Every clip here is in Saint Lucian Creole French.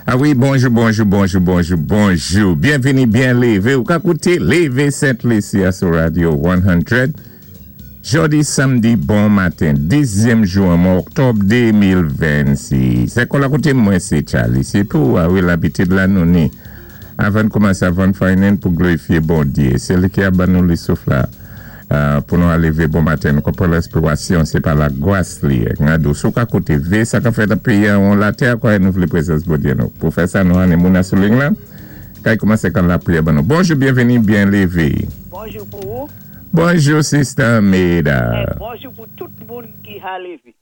A wi, bonjou, bonjou, bonjou, bonjou, bonjou. Byenvini, byen lévé. Ou ka kouté Lévé Sent Lisi sou Radio 100. Jòdi samdi, bon maten, 10èm jou an mwa oktòb 2026. Sé kon la kouté mwen, sé Charlie. Sé pou, a wi, labitid la nou ni. Avan kòmansé, avan faynen pou glorifié Bondyé. Sé li ki a ban nou souf la pou nou lévé bon maten. Nou konpwann lespirasyon, sé pa lagras li. Ngado, sou ka kouté vé, sa ka fèt péyi an latè, kwa nou vlé prézans Bondyé nou. Pou fè sa, nou an moun sou liy la. Kay kòmansé kan lapriyè ban nou. Bonjou, byenvini, byen lévé. Bonjou pou ou. Bonjou, Sister Meda. É bonjou pou tout moun ki a lévé.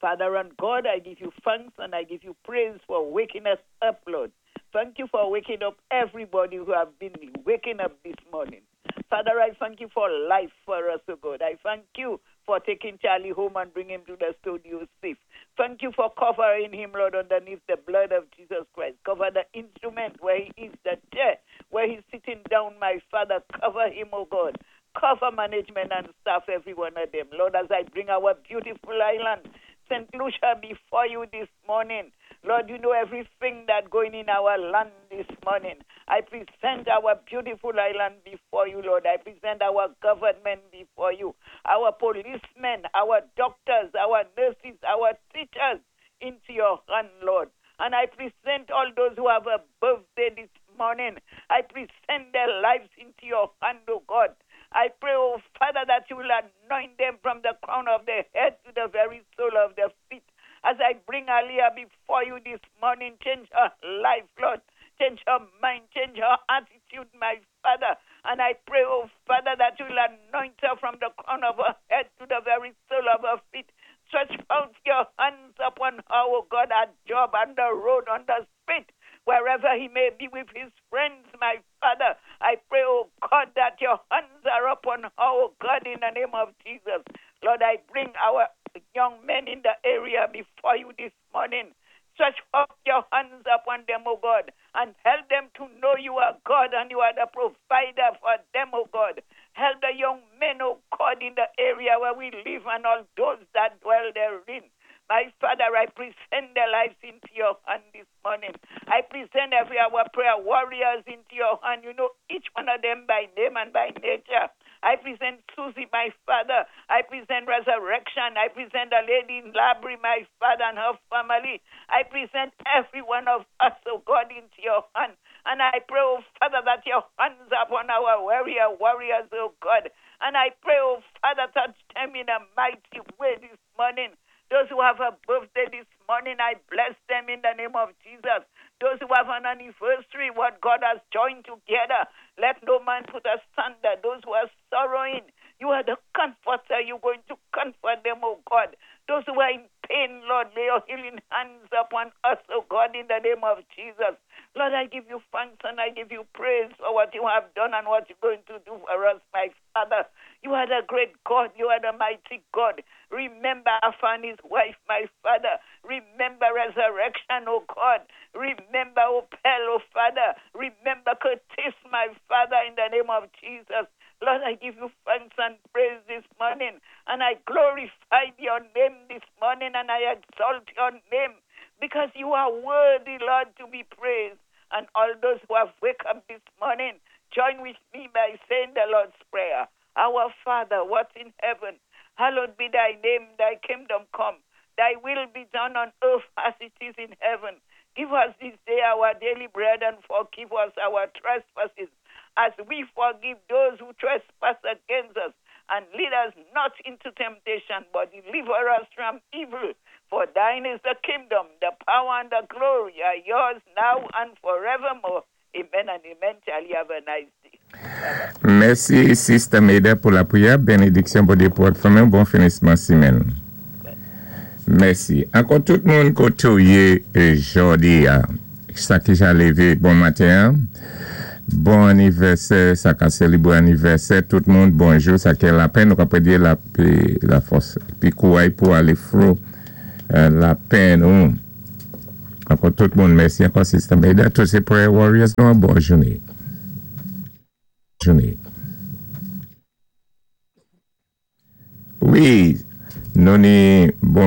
Father and God, I give you thanks and I give you praise for waking us up, Lord. Thank you for waking up everybody who have been waking up this morning. Father, I thank you for life for us, oh God. I thank you for taking Charlie home and bring him to the studio safe. Thank you for covering him, Lord, underneath the blood of Jesus Christ. Cover the instrument where he is, the chair where he's sitting down, my Father. Cover him, oh God. Cover management and staff, every one of them. Lord, as I bring our beautiful island, St. Lucia, before you this morning. Lord, you know everything that going in our land this morning. I present our beautiful island before you, Lord. I present our government before you, our policemen, our doctors, our nurses, our teachers into your hand, Lord. And I present all those who have a birthday this morning. I present their lives into your hand, oh God. I pray, oh Father, that you will anoint them from the crown of their head to the very sole of their feet. As I bring Aliyah before you this morning, change her life, Lord. Change her mind, change her attitude, my Father. And I pray, oh Father, that you will anoint her from the crown of her head to the very sole of her feet. Stretch out your hands upon her, oh God, at job, on the road, on the street, wherever he may be with his friends, my Father. I pray, oh God, that your hands are upon her, oh God, in the name of Jesus. Lord, I bring our young men in the area before you this morning. Stretch out your hands upon them, O God, and help them to know you are God and you are the provider for them, O God. Help the young men, O God, in the area where we live and all those that dwell therein. My Father, I present their lives into your hand this morning. I present every our prayer warriors into your hand. You know each one of them by name and by nature. I present Susie, my father. I present Resurrection. I present the lady in Labrie, my father, and her family. I present every one of us, oh God, into your hand. And I pray, oh Father, that your hands upon our warrior warriors, oh God. And I pray, oh Father, touch them in a mighty way this morning. Those who have a birthday this morning, I bless them in the name of Jesus. Those who have an anniversary, what God has joined together, let no man put asunder. Those who are sorrowing, you are the comforter. You're going to comfort them, oh God. Those who are in pain, Lord, lay your healing hands upon us, oh God, in the name of Jesus. Lord, I give you thanks and I give you praise for what you have done and what you're going to do for us, my Father. You are the great God. You are the mighty God. Remember Alpha and his wife, my Father. Remember resurrection, oh God. Remember Opel, oh Father. Remember Curtis, my Father, in the name of Jesus. Lord, I give you thanks and praise this morning. And I glorify your name this morning and I exalt your name because you are worthy, Lord, to be praised. And all those who have wake up this morning, join with me by saying the Lord's Prayer. Our Father, what in heaven, hallowed be thy name, thy kingdom come, thy will be done on earth as it is in heaven. Give us this day our daily bread and forgive us our trespasses as we forgive those who trespass against us. And lead us not into temptation, but deliver us from evil. For thine is the kingdom, the power, and the glory are yours now and forevermore. Amen and amen. Charlie, have a nice day. Mèsi, Sister Meda, pou lapriyè. Benediksyon pou pou fanmi. Bon finisman sémèn. Mèsi. Ankò tout moun koté ou yé jòdi a. Sa ki ja lévé, bon maten. Bon anivèsè, sa ka sélébwé anivèsè, tout moun, bonjou, sa ki lapenn, nou ka di lafòs, pi kouray pou alé fro lapenn ou. Ankò tout moun, mèsi ankò Sister Meda, tous sé prayer warriors, nou, bòn jounen. Jounen. Wi, nou ni bon